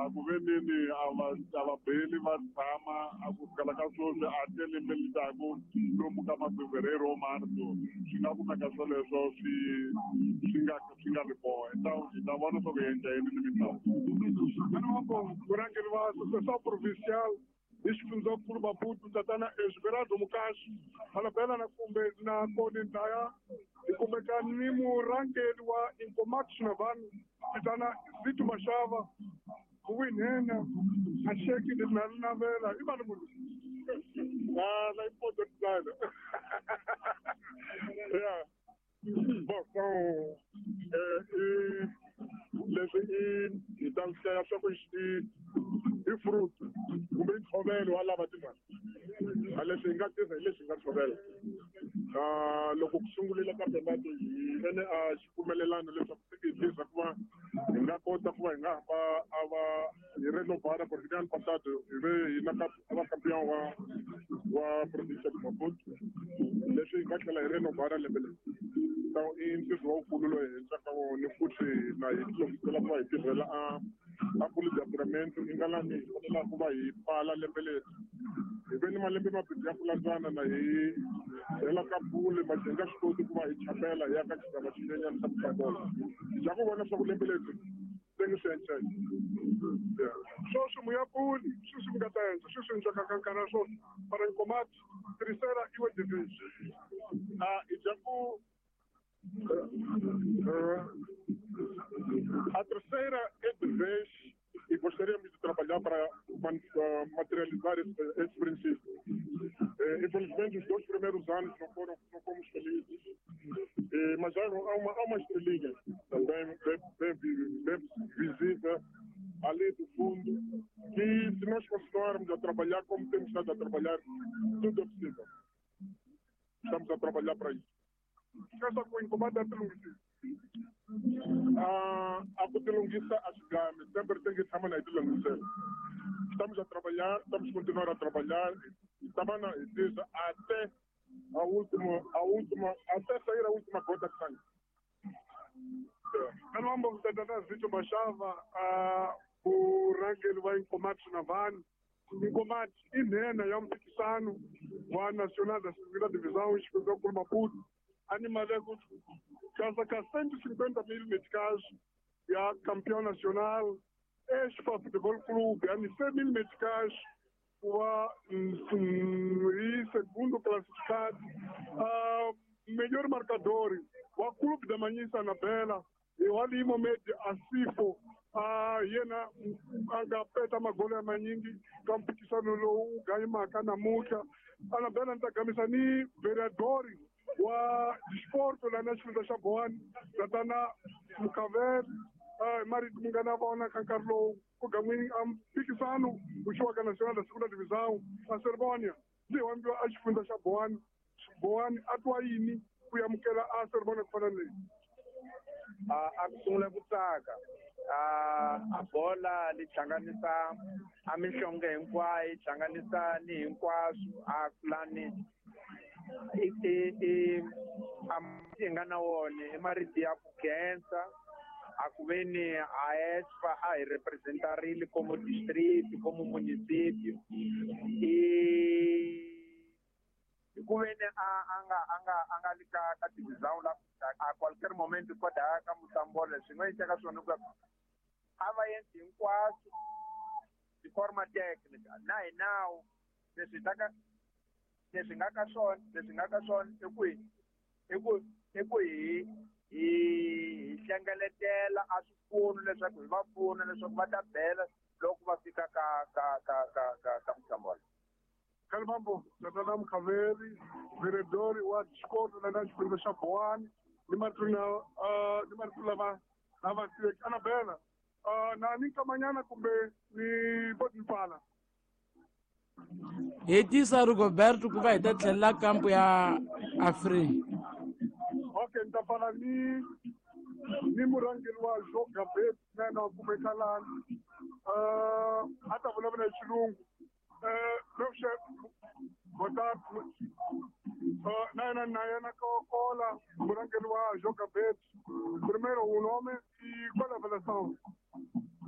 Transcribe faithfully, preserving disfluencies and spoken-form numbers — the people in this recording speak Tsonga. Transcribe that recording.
A ku ve nini a va a va beli va tshama a ku fikela ka sweswi a te lembe litaku lomu ka mafevereiro marso swi nga kumeka swoleswo swi swi nga swi nga ri kona hi ta hi ta vona swa ku endla yini ni mitlawa murhangeri wa Associação Provincial hi xifundzankulu Maputo tatana Esmeraldo Mukashi Malabela na kumbe na koni ndaya hi kumeka ni murhangeri wa Incomac Xinavani tatana Zito Mashava kuwinhena a xeki na navela i mani munhu ah na important designer yeah bon so eh leswi i hi ta hlaya swa ku i i fruit kumbe ntshovelo wa lava timali a leswi hi nga tirha hi leswi hi nga tshovela loko ku sungulela campeonato hi vene a xipfumelelano leswaku se hi tirha ku va hi nga kota ku va hi nga hamba a va hi renovara porque ano passado hi ve hi na a va campeão wa wa provincia de Maputo leswi hi nga tlhela hi renovara lembe leri so i ntirho lowukulu lowu hi endlaka wona futhi na hi tilunghisela ku va hi tirhela a a kuli departamento i nga lani hi fanelaka ku va hi pfala lembe leri hi ve ni malembe mambirhi ya ku landzana na hi hela ka bule ma hi nga swi koti ku va hi chapela hi ya ka xigava xinyenyana xa mutlangola hi ku vona swa ku lembe leri se ngi swi encela sweswi muyapuli sweswi mi nga ta endla sweswi endlaka ka nkarhi wa swona para Incomac terceira iwe division a hi dya ku a terceira é de vez e gostaríamos de trabalhar para materializar esse, esse princípio. Eh, infelizmente, os dois primeiros anos não foram, não fomos felizes, eh, mas há uma, há uma estrelinha também bem, bem, bem visível ali do fundo, que se nós continuarmos a trabalhar como temos estado a trabalhar, tudo é possível. Estamos a trabalhar para isso. Essa com Incomac é tilunghisa Ah, a ku tilunghisa a swi gami sempre tem que tshama na hi tilunghisela estamos a trabalhar, estamos continuar a trabalhar e tava na hi tirha até a última, a última, até sair a última gota de sangue. Kalwambo tatana Zito Mashava a murhangeri wa Incomac Xinavani Incomac i nhenha ya mphikisano wa Nacional da Segunda Divisão xifundzankulu Maputo animale casa ka cento e cinquenta mil meticais ya campeão nacional Expa Futebol Clube ani cem mil meticais wa e segundo classificado uh, melhor marcador wa clube da Manhissa Anabela e o ali Mohamed Asifo uh, yena anga peta magolo ya manyingi ka mpikisano lowu ganyimaka namuntlha Anabela ni ta gamisa ni vereadori wa disporto la na xifundza xa Bohani tatana Mukavele uh, marito mi nga na vona ka nkarhi lowu ku gan'wini a mphikisano wu xiwaka Nacional da Segunda Divisão a Cerimônia ndzi wambiwa a xifundza xa Bohani Bohani a twa yini ku amukela a Cerimônia ku fana na leyi a ku sungula ku tsaka a a bola li hlanganisa a mihlonge hinkwayo yi hlanganisa ni hinkwaswo a kulani i i i a hi nga na wona i marito ya ku khensa a ku ve ni a ESPA a hi representarile como distrito como município i hi ku ve ni a a nga a nga a nga li ka ka divisão la a qualquer momento koda ka Moçambola swi nga endleka swona ku a va endli hinkwaswo de forma técnica na hi nawu leswi ta ka leswi nga ka swona leswi nga ka swona i ku i ku i ku hi hi hlengeletela a swipfuno leswaku hi va pfuna leswaku va ta bela loko va fika ka ka ka ka ka ka Moçambola Kalibambo tatana Mukaveri vereador wa disporto la na xifundza xa Bohani ni marito na uh, ni marito lama lava tiveki Anabela uh, na ni nkamanyana kumbe ni boti pfala hetisa Rigoberto ku va hi ta tlhelela kampo ya Afrika okay ni ta pfala ni ni murhangeri wa Joga Bet na yena wa kumeka lani uh, a ta vulavula hi xilungu meu chefe botar na yena na yena kola murhangeri wa Joga Bet primeiro o nome e qual é a avaliação